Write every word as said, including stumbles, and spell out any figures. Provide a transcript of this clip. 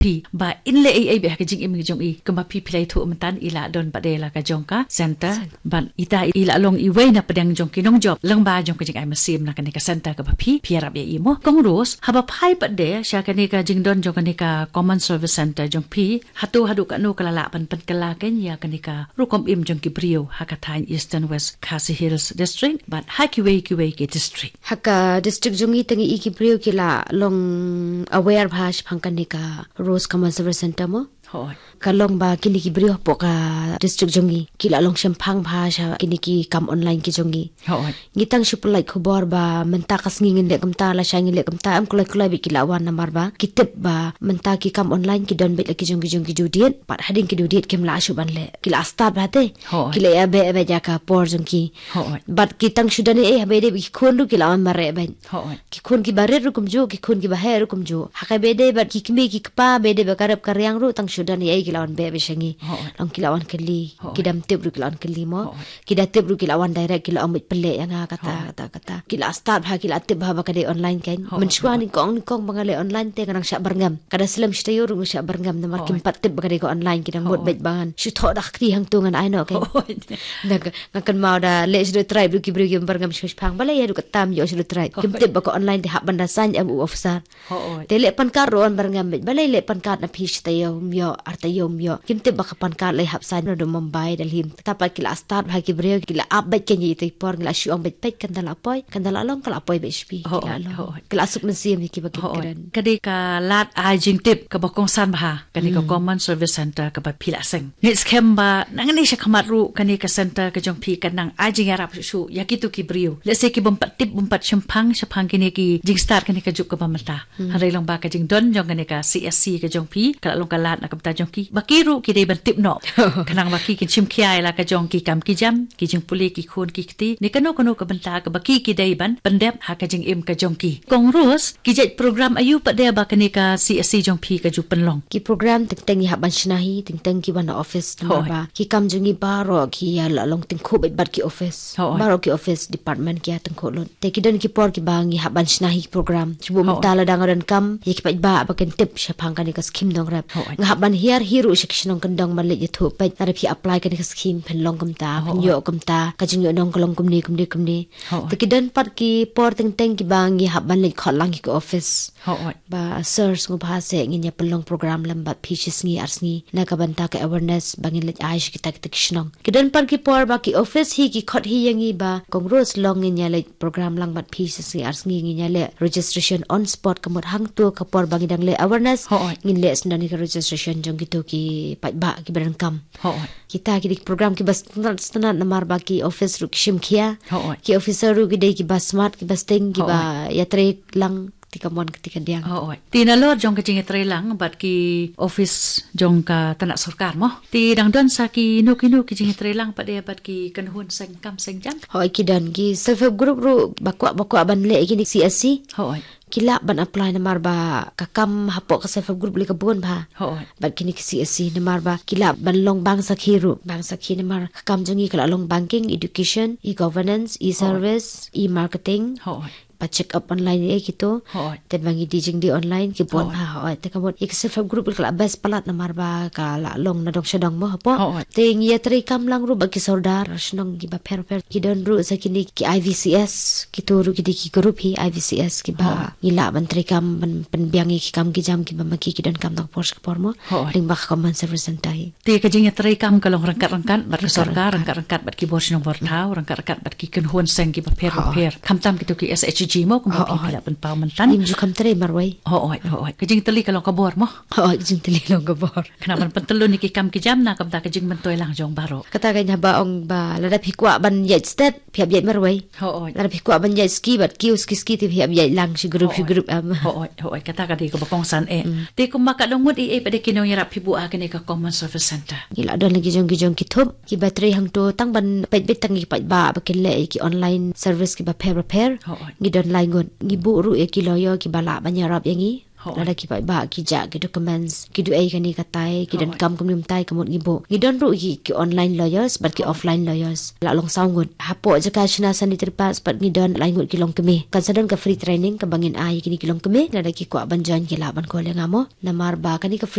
phi ba in leh ei ei beit ha ka jingim ka jong i, kumba phi phi la ïathuh mynta, i la don pat de la ka jong ka center. Bad ita i la long iwei na pdeng jong ki nongjop lyngba jong ka jingai mynsiem na kane ka center kaba phi phi ïarap ïa i mo. Kong Rose, haba phai pat de sha kane ka jingdon jong kane ka Common Service Center jong phi, hato haduh katno ka la lah ban pynkylla kein ïa kane ka rukom im jong ki briew ha ka thaiñ Eastern West Khasi Hills District bad ha kiwei kiwei ki district? Ha ka district jong i, tang i ki briew ki la long aware bha shaphang kane ka Rose Common Service Center mo. Hooid. Ka long ba kine ki briew hapoh ka district jong i ki la long shemphang bha sha kine ki kam online ki jong i. Hooid. Ngi tang shu pynlait khubor ba mynta ka sngi ngin leh kumta, lashai ngin leh kumta, em kloi kloi beit ki la wan namar ba ki tip ba mynta ki kam online ki don beit la ki jong ki jong ki due date, bad hadien ki due date kim lah shuh ban leh. Ki la start bha te. Hooid. Ki la ïa beh beit ïa ka por jong ki. Hooid. Bad ki tang shu don ei ei, haba ïadei bad ki khun ruh ki la wan mareh beit. Hooid. Ki khun kiba rit ruh kumjuh, ki khun kiba heh ruh kumjuh. Ha kaba ïadei bad ki kmie ki kpa, ba ïadei bad ka rep ka riang ruh tang shu don ei ei ki la wan beh beit sha ngi. Hooid. Long ki la wan kylli. Hooid. Ki dang tip ruh ki la wan kylli mo. Hooid. Ki da tip ruh ki la wan direct, ki la ong beit pynleh ïa nga kata, hooid, kata, kata. Ki la start bha, ki la tip bha ba ka dei online kein. Hooid. Mynshuwa nyngkong nyngkong ba nga leh online te nga dang shah byrngem. Ka da slem shi taïew ruh nga shah byrngem namar kim, hooid, pat tip ba ka dei ka online, ki dang mut, hooid, beit ba ngan shu thoh da ka kti hangto ngan ai noh kein. Hooid. Na ka, nga kynmaw da leh shaduh trai ruh ki briew kim byrngem shipang. Balei haduh katta ym ïoh shaduh trai? Kim, hooid, tip ba ka online te hap ban da sign em u officer. Hooid. Te leh pan card ruh wan byrngem beit. Balei leh pan card na phi shi taïew ym ïoh, ar taïew ym ïoh? Kim tip ba ka pan card leh hap sign naduh Mumbai, Delhi. Te pat ki la start bha ki briew, ki la ap beit kein ïa itei i por, ngi la shu ong beit peit kan da la poi, kan da la long, ka la poi beit sha phi, ki la, hooid, long. Hooid. Ki la suk mynsiem ïa kiba kren. Hooid. Ka dei ka lad ai jingtip kaba kongsan bha kane ka, hmm, Common Service Center kaba phi la seng. Ngi skhem ba nangne shakhmat ruh kane ka center ka jong phi kan nang ai jingïarap shuh shuh ïa kito ki briew, lehse ki bym pat tip, bym pat shemphang shaphang kine ki jingstad kane ka juk kaba mynta. Hmm. Hynrei long ba ka jingdon jong kane ka C S C ka jong phi ka la long ka lad na ka bynta jong ki ba ki ruh ki dei ban tip noh. Khnang ba ki kin shim khia ïa la ka jong ki kam ki jam, ki jingpule ki khun ki kti, ne kano kano ka bynta kaba ki ki dei ban pyndep ha ka jingim ka jong ki. Kong Rose, ki jait program aïu pat de ba kane ka C S C jong phi ka ju pynlong? Ki program teng teng ngi hap ban shna hi, teng teng ki wan na office, namar, hooid, ba ki kam jong ngi baroh ki ïa la long tyngkhuh beit bad ki office. Hooid. Baroh ki office department ki ïa tyngkhuh lut. Te ki don ki por kiba ngi hap ban shna hi ki program. Shu, hooid, mynta lada nga don kam, ïa ki paidbah ba kin tip shaphang kane ka skhim nongrep. Hooid. Nga hap ban hiar hi ruh sha ki shnong kyndong ban leit ïathuh peit, lada phi apply kane ka skhim phin long kumta, phin, hooid, ïoh kumta, ka jingïoh nong ka long kumne kumne kumne. Hooid. Te ki don pat ki por teng teng kiba ngi hap ban leit khot lang ïa ki office. Hooid. Ba sir, sngewbha seh ngin ïa pynlong program lem bad phi shi sngi ar sngi na ka bynta ka awareness ba ngin leit ai sha kita kita ki shnong. Ki don pat ki por ba ki office hi ki khot hi ïa ngi ba, Kong Rose, long ngin ïa leit program lang bad phi shi sngi ar sngi, ngin ïa leh registration on spot, ka mut hangto ka por ba ngi dang leh awareness, hooid, ngin leh sdang ïa ka registration jong kito ki paidbah kiba donkam. Hooid. Kita ki dei ki program kiba sngewtynnat sngewtynnat namar ba ki office ruh ki shim khia. Hooid. Ki officer ruh ki dei kiba smart, kiba sting, kiba, hooid, ïatrei lang kti kamon kti kadiang. Hooid. Te nalor jong ka jingïatrei lang bad ki office jong ka tnat sorkar mo, te dang don sa kino kino ki jingïatrei lang pat de bad ki kynhun seng kam seng jam? Hooid, ki don ki self help group ruh ba kwah ba kwah ban leh ïa kine C S C. Hooid. Ki lah ban apply namar ba ka kam hapoh ka self help group lei ka bun bha. Hooid. Bad kine ki C S C namar ba ki lah ban long bank sakhi ruh, bank sakhi namar ka kam jong ngi ka la long banking, education, e-governance, e-service, e-marketing. Hooid. Ba check up online ïa kito. Hooid. Te ba ngi die jingdie online ki bun, hooid, bha, hooid. Te ka mut ïa ka self help group ka la best palat namar ba ka la long na dong sha dong mo hapoh. Hooid. Te ngi ïatrei kam lang ruh bad ki sordar shnong kiba pher pher. Ki don ruh sa kine ki I V C S, kito ruh ki dei ki group hi I V C S kiba, hooid, ngi lah ban trei kam ban pynbiang ïa ki kam ki jam kiba ma ki ki donkam tang por sha por mo. Hooid. Lyngba ka Common Service Center hi. Te ka jingïatrei kam ka long ryngkat ryngkat bad ka sorkar, ryngkat ryngkat bad ki bor shnong bor thaw, ryngkat ryngkat bad ki kynhun seng kiba pher bapher. Hooid. Khamtam kito ki S H G mo, kumba phi, hooid, phi la pynpaw mynta. Ngim ju kham trei marwei. Hooid, hooid. Ka jingtylli ka long ka bor mo. Hooid, ka jingtylli long ka bor. Khnang ban pyntyllun ïa ki kam ki jam na ka bynta ka jingmyntoi lang jong baroh. Kata ka haba ong ba lada phi kwah ban ïaid stet, phi hap ïaid marwei. Hooid. Lada phi kwah ban ïaid ski bad kiew ski ski te phi hap ïaid lang shi group shi group, em. Hooid, hooid. Kata ka dei kaba kongsan eh. Mm. Te kumba ka dang mut ei ei pat de ki nongïarap phi buh ha kane ka Common Service Center? Ngi la don la ki jong ki jong ki thup kiba trei hangto tang ban peit beit tang ïa ki paidbah ba kin leh ïa ki online service kiba pher bapher. Hooid. Ngi don lai ngut. Ngi buh ruh ïa ki lawyer kiba lah ban ïarap ïa ngi. Lada ki paidbah ki jah ki documents, ki duh ei kane katai, ki donkam kumne kumtai, ka mut ngi buh. Ngi don ruh ki, ki online lawyers bad ki offline lawyers. La long saw ngut. Hapoh jaka shna san district pat ngi don lai ngut ki longkmie. Kan sa don ka free training kaba ngin ai ïa kine ki longkmie, lada ki kwah ban join ki lah ban call ïa nga mo. Namar ba kane ka free